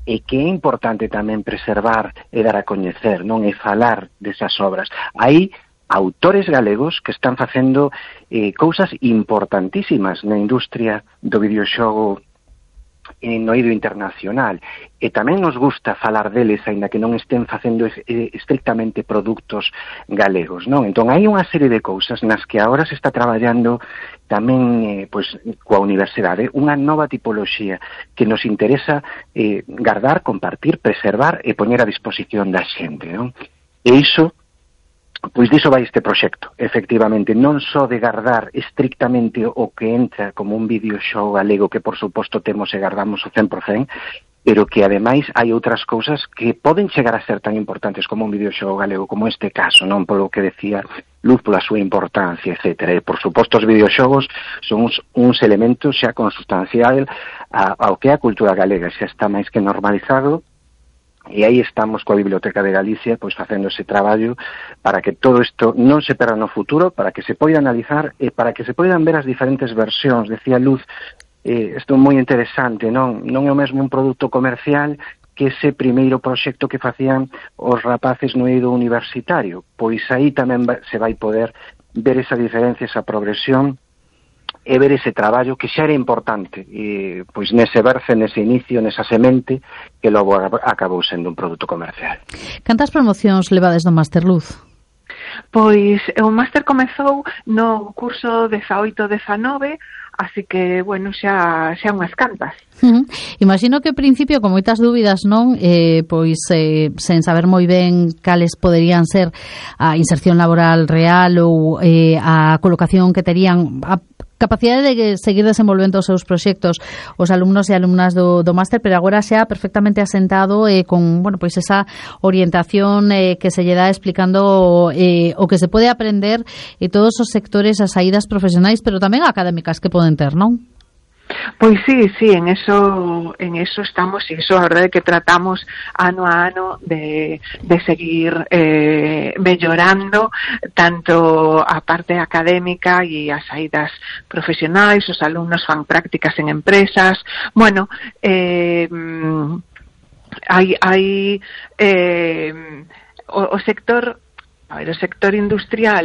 e que é importante tamén preservar e dar a coñecer, non, e falar desas obras. Hai autores galegos que están facendo cousas importantísimas na industria do videoxogo no eido internacional, e tamén nos gusta falar deles, aínda que non estén facendo estrictamente produtos galegos, non? Entón, hai unha serie de cousas nas que agora se está traballando tamén coa universidade, unha nova tipoloxía que nos interesa guardar, compartir, preservar e poñer a disposición da xente, non? E iso, pois diso vai este proxecto, efectivamente, non só de guardar estrictamente o que entra como un videoxogo galego, que por suposto temos e guardamos o 100%, pero que ademais hai outras cousas que poden chegar a ser tan importantes como un videoxogo galego, como este caso, non, polo que decía Luz, pola súa importancia, etc. E, por suposto, os videoxogos son uns elementos xa consustancial ao que é a cultura galega, xa está máis que normalizado. E aí estamos coa Biblioteca de Galicia pois facendo ese traballo para que todo isto non se perda no futuro, para que se poida analizar e para que se poidan ver as diferentes versións. Decía Luz, isto é moi interesante, non é o mesmo un produto comercial que ese primeiro proxecto que facían os rapaces no eido universitario. Pois aí tamén se vai poder ver esa diferencia, esa progresión, e ver ese traballo que xa era importante, pois nese berce, nese inicio, nesa semente, que logo acabou sendo un produto comercial. Cantas promocións levades do Máster, Luz? Pois o Máster comezou no curso 18-19, así que, bueno, xa unhas cantas. Imagino que ao principio con moitas dúbidas, non? Sen saber moi ben cales poderían ser a inserción laboral real ou a colocación que terían, a capacidade de seguir desenvolvendo os seus proxectos os alumnos e alumnas do máster, pero agora xa perfectamente asentado con, bueno, pois esa orientación que se lle dá explicando o que se pode aprender e todos os sectores, as saídas profesionais, pero tamén académicas que poden ter, non? Pois sí, en eso estamos, e iso a verdade que tratamos ano a ano de seguir mellorando tanto a parte académica e as saídas profesionais, os alumnos fan prácticas en empresas. Bueno, hai o sector industrial